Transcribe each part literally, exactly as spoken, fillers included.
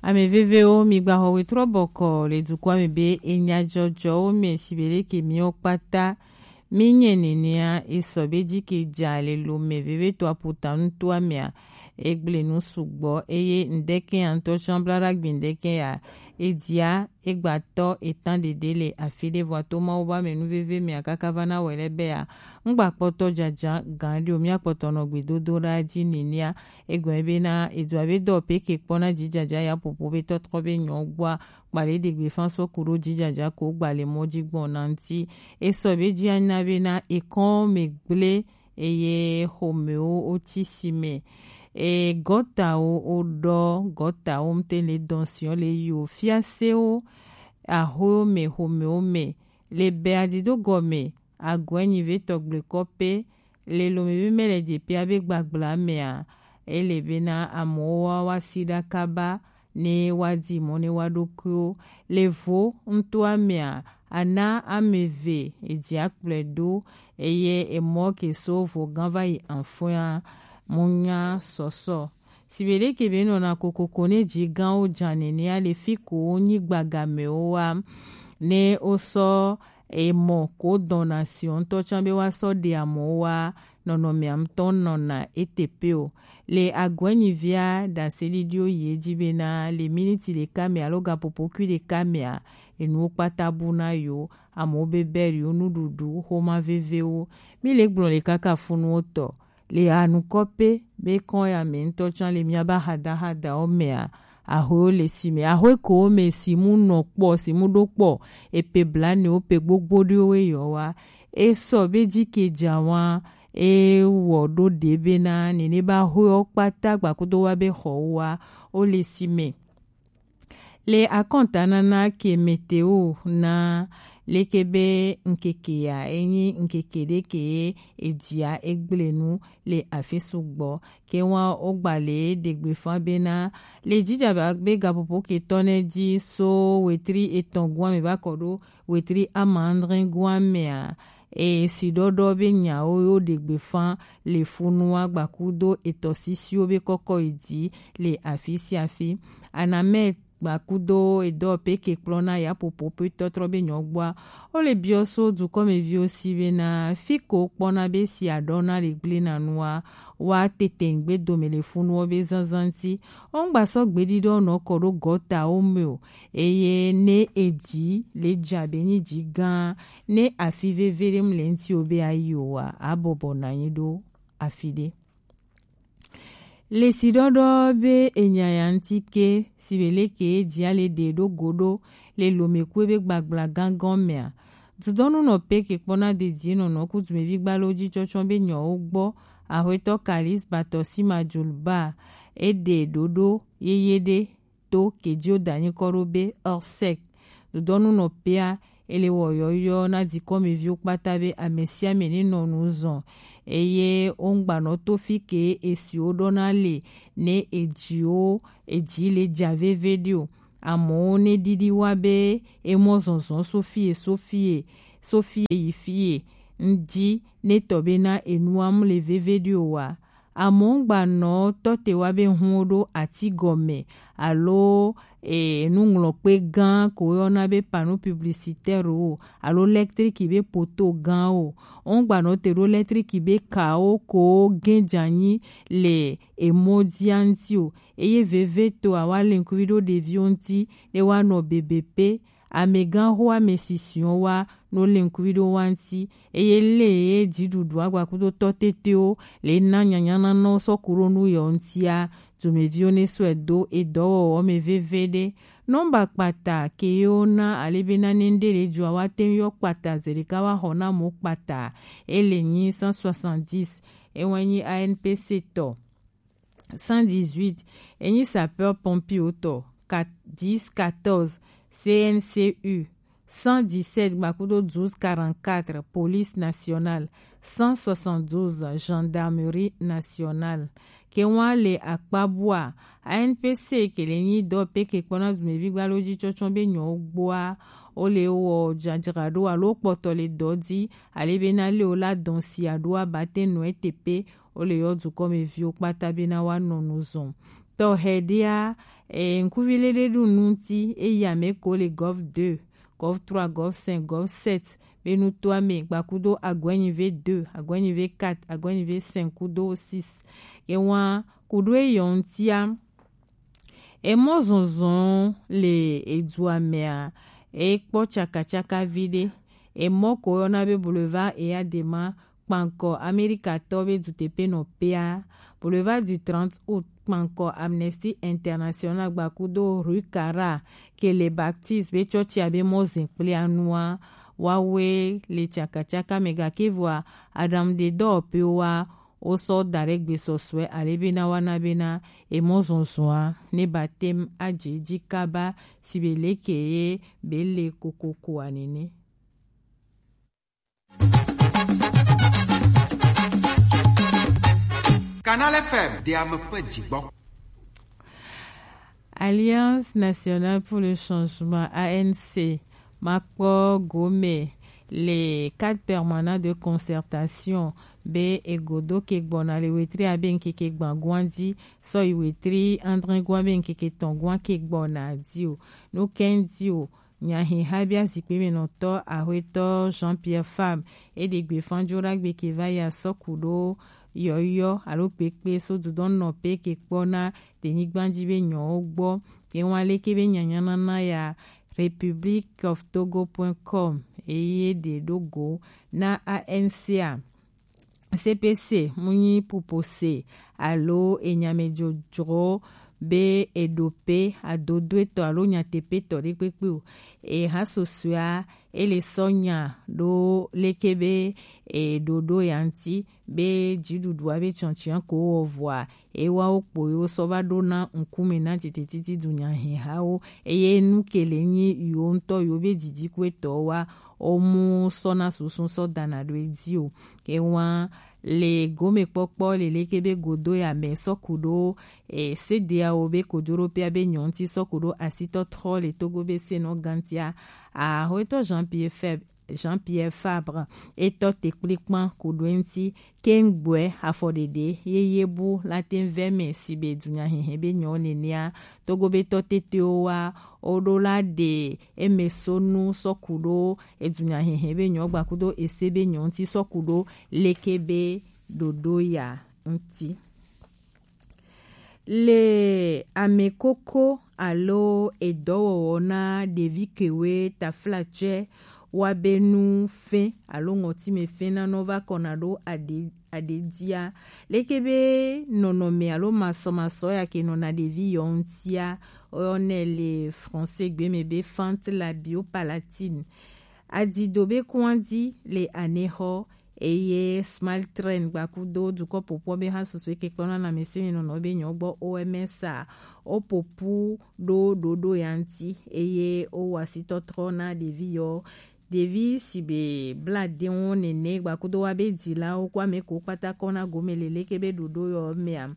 Ame vevewo, mi gba xɔ wetrɔ bɔkɔ le dukɔa me be enya jɔjɔwo me, si be leke miwo kpata mi nyɛ nenea, e sɔ be ji ke ja le lo me veve to aputa nutoa mea, e gble nu sugbɔ, eye ŋdɛkɛ ya ŋutɔ tsã bla ɖa gbi ŋdɛkɛ ya, e dia e gba tɔ e tan ɖeɖe le afi ɖe, vɔ to Mawu ba me nu veve mea kaka va na wɛ lɛ be ya, ŋgba kpɔtɔ jaja gan ɖi o, mia kpɔtɔ nɔ gbedodo ɖa ji nenea, egɔme be na edu abe dɔ pe ke kpɔ na jijaja ya popo be tɔtrɔ be nyɔ gbɔa, kpa le ɖe gbe fan sɔ ku ɖo jijaja ko gba le mɔ ji gbɔn na ŋti. E sɔ be ji anya be na ekɔn me gble eye xomewo wo ti si me. E gɔtawo wo ɖɔ, gɔtawo ŋte le dɔn siɔ le yi o fiasewo, ahoewo me, xomewo me, le bɛ adido gɔme, agɔe nyi ve tɔgble kɔpe, le lome be mɛ le je pia be gbagbla mea, ele be na amewo wa wa si ɖa kaba, ne wa di mɔ ne wa ɖokuiwo. Le vo ŋtoa mea, ana ame ve eji akplɔe ɖo, eye emɔ ke so vo gã va yi anfɔa, mo nya sɔsɔ. Si be ɖeke be nɔna kokoko ne ji gãwo ja nenea, le fi ko wo nyi gbagamewo wa, ne wo sɔ emɔ ko dɔna si ŋutɔ tsã be wa sɔ ɖe amewo wa, nɔnɔmea ŋutɔ nɔna ete pe o. Le agɔenyivia ɖaseɖiɖiwo yi edzi bena le miniti ɖeka me alo gaƒoƒo kui ɖeka mea, enuwo kpata bu na yewo, amewo be bɛriwo, nuɖuɖu, xoma vevewo. Mi le gblɔ le kaka funuwo tɔ. Le anukɔ pe be kɔn ya me ŋutɔ tsã le miaba hadahadawo mea, ahoewo le si me, ahoe ko wo me si mu nɔ kpɔ, si mu ɖo kpɔ, epe blanewo, pe gbogbo ɖewo eyɔ wa. E sɔ be ji ke ja wa, e wɔ ɖo ɖe bena nene ba ahoewo kpata gbakudo wa be xɔ wa, wo le si me. Le akɔntanana ke meteo na leke be ŋkeke ya, enyi ŋkeke ɖe ke ejia egble nu le afi sugbɔ. Ke wa wo gba le ɖegbe fa bena le jija ba be gaƒoƒo ke tɔ ne ji so wetri etɔn gua me va kɔ ɖo wetri amadre gua mea, e si ɖɔɖɔ be nyawo yo ɖegbe fa le funua gbakudo etɔ sisiwo be kɔkɔ yi dzi le afi sia afi. Anamɛ gbakudo edɔ pe ke kplɔna yaƒoƒo pe tɔtrɔ be nyɔgbɔa, wo le biɔ so dukɔmeviwo si bena fi ko kpɔna be si aɖɔna le gble na nua, wa tete ŋgbe dome le funuwo be zanzan ŋti. Wo ŋgba sɔ gbeɖiɖɔ nɔ kɔ ɖo gɔtawo me o, eye ne eji le ja be nyi ji gã, ne afi veve ɖe mu le ŋti o be ayi o wa, abɔbɔ na nyi ɖo afi ɖe. Le si ɖɔɖɔ be enya ya ŋti ke si be leke ejia le ɖe ɖo go ɖo le lomekue be gbagbla gãgã mea, dudɔnu nɔ pe ke kpɔna dedie nɔnɔ ku dumevi gbalo ji tsɔtsɔ be nyɔwo gbɔ, ahwetɔ Kalis Batɔsi Majulba, e ɖe ɖoɖo yeye ɖe to ke ji wo da nyikɔ ɖo be Orsec. Dodɔnu nɔ pea, ele wɔ yɔyɔ na dikɔmeviwo kpata be ame sia ame ne nɔ nu zɔn, eye wo ŋgbanɔ to fi ke esiwo ɖɔna le ne edziwo edzi le ja veve ɖi o. Amewo ne ɖiɖi wa be emɔ zɔzɔ so fie so fie so fie yi fie ŋdi ne tɔ be na enua mu le veve ɖi o wa. Amewo ŋgbanɔ tɔ te wa be hun ɖo ati gɔme alo e, nuŋlɔkpe gã ko woyɔna be panneau publicitaire o alo lɛtriki be poto gã o. Wo ŋgbanɔ te ɖo lɛtriki be kawo ko gẽ dze anyi le emɔ dzia ŋti o. Eye veve to awa le ŋkuvi ɖo ɖeviwo ŋti ɖe woanɔ bebe pe. Amegãxo ame sisiwo wa no le ŋkuvi ɖo wa ŋti. Eye le ye dziɖuɖu agbakudo tɔ tetewo le na nyanya na nɔ sɔ ku ɖo nu yɔ ŋtia, dumeviwo ne sɔe do edɔwɔwɔ me veve ɖe. Nɔmba kpata ke ye wo na ale be na ne ŋɖe le dzɔa, wa te ŋu yɔ kpata zeɖeka wa xɔ na mo kpata. Ele nyi cent soixante-dix. Ewa nyi A N P C tɔ. Cent dix-huit, enyi sapeur pompier tɔ, dix quatorze, C N C U, cent dix-sept gbakudo douze quarante-quatre, police nationale, cent soixante-douze, gendarmerie nationale. Ke wa le akpa bua, A N P C ke le nyi dɔ pe ke kpɔna dumevi gbalo ji tsɔtsɔ be nyɔ gbɔa, wo le wɔ dzadzraɖo alo kpɔtɔ le dɔ di, ale be na le wo la dɔn si aɖo abate nɔ ete pe, wo le yɔ dukɔmeviwo kpata be na wa nɔ nu zɔn. Tɔxɛ ɖea, e, ŋkuvi lele ɖu nu ŋuti, eyi ame ko le Gov deux, Gov trois, Gov cinq, Gov sept, be nutoa me gbakudo Aguenyi V deux, Aguenyi V quatre, Aguenyi V cinq kudo six. Ewa kudo eyɔ ŋutia, emɔ zɔnzɔn le edua mea, ekpɔ tsakatsaka vi ɖe. Emɔ ko yɔna be Boulevard Eyadema, kpankɔ Amerikatɔ be duteƒenɔƒea, Boulevard du trente août, kpankɔ Amnesty International gbakudo Rue Cara, ke le Baptiste be tsɔtsia be mɔzɛn kple anua, wawe le tsakatsaka me gake vɔa, aɖaŋuɖedɔwɔƒewoa, wosɔ da ɖe gbesɔsɔe ale bena woana bena emɔzɔzɔa ne ba tem adze edzi kaba si be leke ye be le kokokoa nene. Canal F M, de ame ƒe dzigbɔ. Alliance Nationale pour le Changement, A N C, makpɔ gome le cadre permanent de concertation be egodo ke gbɔna le wetri abe ŋkeke gbãgua dzi sɔ yi wetri andre gua be ŋkeke tɔ̃gua ke gbɔna di o. No kɛndi o, nyahe habia zikpe me nɔtɔ Ahoetɔ Jean-Pierre Fabre, e ɖe gbe fanjo ɖagbe ke va ya sɔ ku ɖo yɔyɔ alo kpekpe so dudɔn nɔ pe ke kpɔ na tenyigba dzi be nyɔwo gbɔ. Ke ŋwa leke be nyanyanana ya Republic of Togo point com eye ɖe ɖo go na A N C a. C P C mu nyi pupose alo enyamedzrodzro be eɖo pe adodoetɔ alo nyateƒetɔ ɖe kpekpe o. Eha susɔea ele sɔ nya ɖo leke be eɖoɖo ya ŋuti be dziɖuɖua be tsɔntsɔa ko wɔ vɔa ewawo kpo yewo sɔ va ɖo na ŋkume na dzitetiti dunyahehawo eye nu ke le nyi yewo ŋutɔ yewo be didikuetɔwo wa womu sɔ na susu sɔ dana ɖo edzi o. Ewa le gomekpɔkpɔ le leke be godo ya me sɔ ku ɖo e, sedeawo be kojoɖoƒea be nyɔ ŋuti sɔ ku ɖo asitɔtrɔ le Togo be senɔ gantia. Ahoetɔ Jean-Pierre Feb-, Jean-Pierre Fabre etɔ te kplikpan ku ɖo eŋuti keŋgbɔe afɔɖeɖe yeye bu la te vɛ me si be dunyahehe be nyɔ nenea Togo be tɔ tetewo wa woɖo la ɖe eme so nu sɔ ku ɖo edunyahehe be nyɔ gbakudo ese be nyɔ ŋuti sɔ ku ɖo leke be ɖoɖo ya ŋuti. Le amekoko alo edɔwɔwɔ na ɖevi kewe taflatsɛ wa be nu fɛn alo ŋɔtime fɛn na nɔ va kɔna ɖo aɖe aɖe dia. Leke be nɔnɔme alo masɔmasɔ ya ke nɔna ɖevi yɔ ŋutia, woyɔnɛ le français gbe me be fente labiopalatine. Adido be kuandi le anexɔ eye Smile Train gbakudo dukɔ popɔ be ha susu eke kpɔna na mesi mi nɔnɔ be nyɔ gbɔ O M S a o popu ɖo ɖoɖo ya ŋuti eye o wɔ asitɔtrɔ na ɖevi yɔ. Ɖevi si be bla de wo nene gbakudo wa be dilawo kɔ ame ko kpata kɔ na gome leleke be ɖoɖo yɔ mea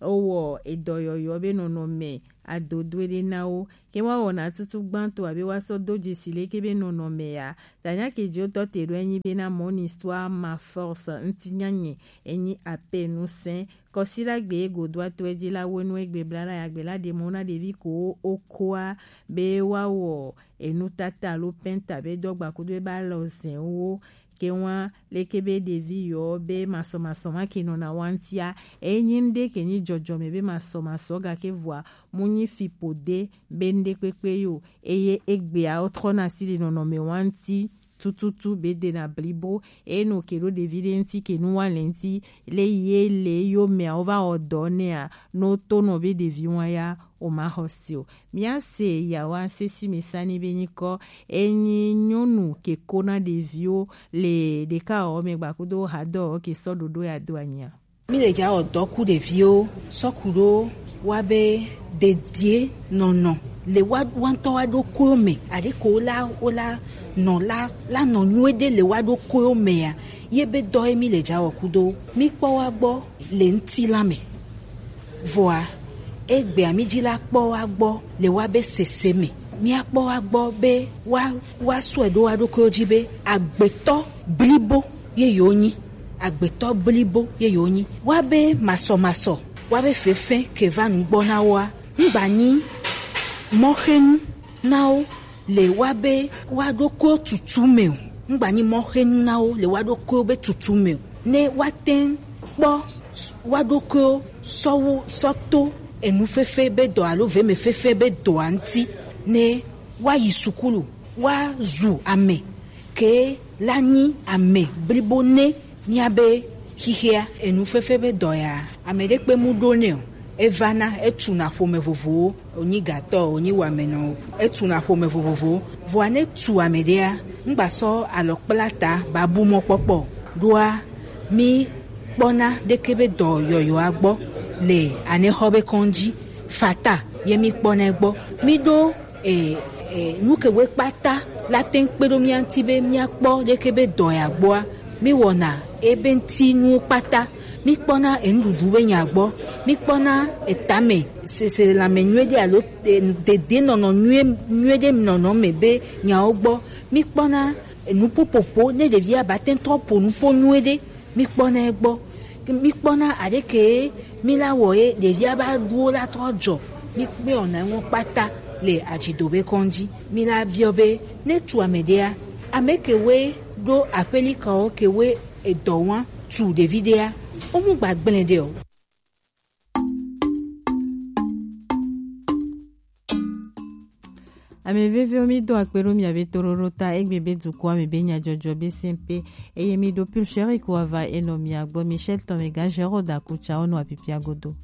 o wɔ edɔ yɔyɔ be nɔnɔme adodoe ɖe na wo. Ke wa wɔna tutu gbãtɔ abe wa sɔ do dzesi leke be nɔnɔme ya. Tanya ke dzo tɔ te ɖo enyi be na mon histoire ma force ŋuti nyanye enyi ape nu sɛn. Kɔsi la gbe godo atɔ edzi la wo nu egbe bla la ya gbe la ɖe mɔ na ɖevi ko o koa be wa wɔ enu tata alo penta be dɔgba kudo be alɔ zɛn wo. Ke wa leke be ɖevi yɔ be masɔmasɔ ma ke nɔna wa ŋutia enyi ŋɖe ke nyi dzɔdzɔme be masɔmasɔ gake vɔa mu nyi fi po de be ŋɖe kpekpe yo eye egbea wotrɔna si le nɔnɔme wa ŋuti tututu be dena blibo eye no ke ɖo ɖevi ɖe ŋuti ke nu wa le ŋuti le ye le yo mea wo va wɔ dɔ nea no to nɔ be ɖevi wa ya o ma xɔ si o. Mia se yawa sesi mi sani be nyikɔ enyi nyɔnu ke ko na ɖeviwo le ɖeka wɔ me gbakudo hadɔ ke sɔ ɖoɖo ya do anyia. Mi le ja wɔ dɔ ku ɖeviwo sɔ ku ɖo wa be dedie nɔnɔ le wa wa ŋutɔ wa ɖo koyo me aɖe ko la wo la nɔ la la nɔ nyuie ɖe le wa ɖo koyo mea ye be dɔ ye mi le ja wɔ kudo mi kpɔ wa gbɔ le ŋuti la me. Vɔa egbea mi dzi la kpɔ wa gbɔ le wa be sese me. Mia kpɔ wa gbɔ be wa wa sɔe ɖo wa ɖokuiwo dzi be agbetɔ blibo ye yewo nyi. Agbetɔ blibo ye yewo nyi. Wa be masɔmasɔ wa be fefɛ ke va nugbɔ na woa, ŋgba nyi mɔxenu na wo le wa be wa ɖokuiwo tutu me o. Ŋgba nyi mɔxenu na wo le wa ɖokuiwo be tutu me o. Ne wa tɛn kpɔ wa ɖokuiwo sɔ wo sɔ to enu fefe be dɔ alo veme fefe be dɔa ŋuti, ne wa yi sukulu, wa zu ame ke la nyi ame blibo ne mía be xixea enu fefe be dɔ ya. Ame ɖe kpe mu ɖo nɛ o. Evana, etuna ƒome vovowo, wònyi gatɔ, wònyi wamenɔ, etuna ƒome vovovowo. Vɔa ne tu ame ɖea, ŋgba sɔ alɔ kpla ta ba bu mɔkpɔkpɔ o. Ɖoa, mi kpɔna ɖeke be dɔ yɔyɔa gbɔ le anexɔ be kɔndzi. Fata ye mi kpɔna gbɔ. Mi ɖo e, e, nu ke woe kpata la te ŋu kpe ɖo mía ŋuti be míakpɔ leke be dɔ ya gbɔa, míwɔna ebe ŋuti nuwo kpata. Míkpɔna enuɖuɖu be nya gbɔ, míkpɔna etame sese lãme nyuie ɖe alo e, dedienɔnɔ nyuie nyuie ɖe nɔnɔ me be nyawo gbɔ, míkpɔna enuƒoƒoƒo ne ɖevia ba te ŋu trɔ ƒo nuƒo nyuie ɖe. Míkpɔna egbɔ. Míkpɔna aɖeke míla wɔ ye ɖevia ba ɖuwo la trɔ dzɔ. Míkpɔna eŋu kpata le adzidobe kɔndzi. Míla biɔ be ne tu ame ɖea, ame kewoe ɖo aƒelikawo kewoe edɔ wa tu ɖevi ɖea, wo mu gba gblẽ ɖe o. Ame veviwo, mi do akpe ɖo mia be toɖoɖo ta. Egbe be dukɔa me be nyadzɔdzɔ be sɛnpe, eye mi ɖo pulseri ko ava enɔ mia gbɔ. Michel Tomega, Gérard Akutsa, wonɔ apipia godo.